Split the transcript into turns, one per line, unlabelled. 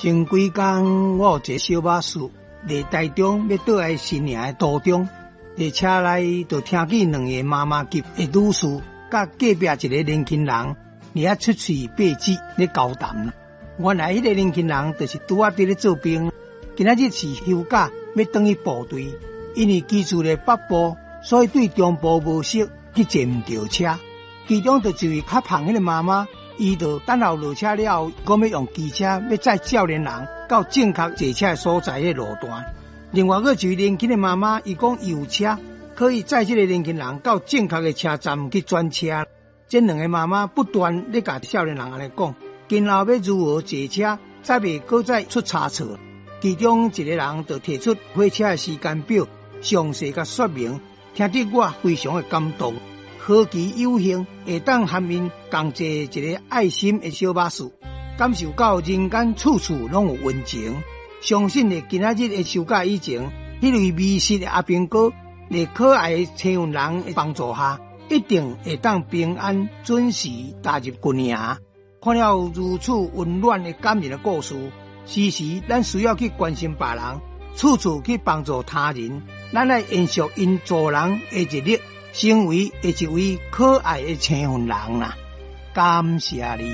前幾工我有一个小巴士，佇台中欲倒來新營的途中，佇車內就聽見兩個媽媽級的女士，佮隔壁一个年輕人佇遐出喙閉舌咧交談。原來彼个年輕人就是拄仔佇咧做兵，今仔日是休假欲轉去部隊，因為居住佇北部，所以對中部無熟，去坐毋著車。其中就一位較胖彼个媽媽，伊就等候落車了後，講欲用機車欲載少年人到正確坐車的所在的路段。另外閣一位年輕的媽媽，伊講伊有車，可以載這个年輕人到正確的車站去轉車。這兩个媽媽不斷咧共少年人按呢講，今後欲如何坐車，才袂閣再出差錯。其中一个人就提出火車的時間表，詳細共說明，聽得我非常的感動。何其有幸會當和𪜶共坐一个愛心的小巴士，感受到人間處處攏有溫情。相信佇今仔日的收假以前，彼位迷失的阿兵哥，佇可愛的星雲人的幫助下，一定會當平安準時踏入軍營。看了如此溫暖的感人的故事，時時咱需要去關心別人，處處去幫助他人。咱愛延續𪜶助人的熱力，成為一位可愛的星雲人啦！感謝你。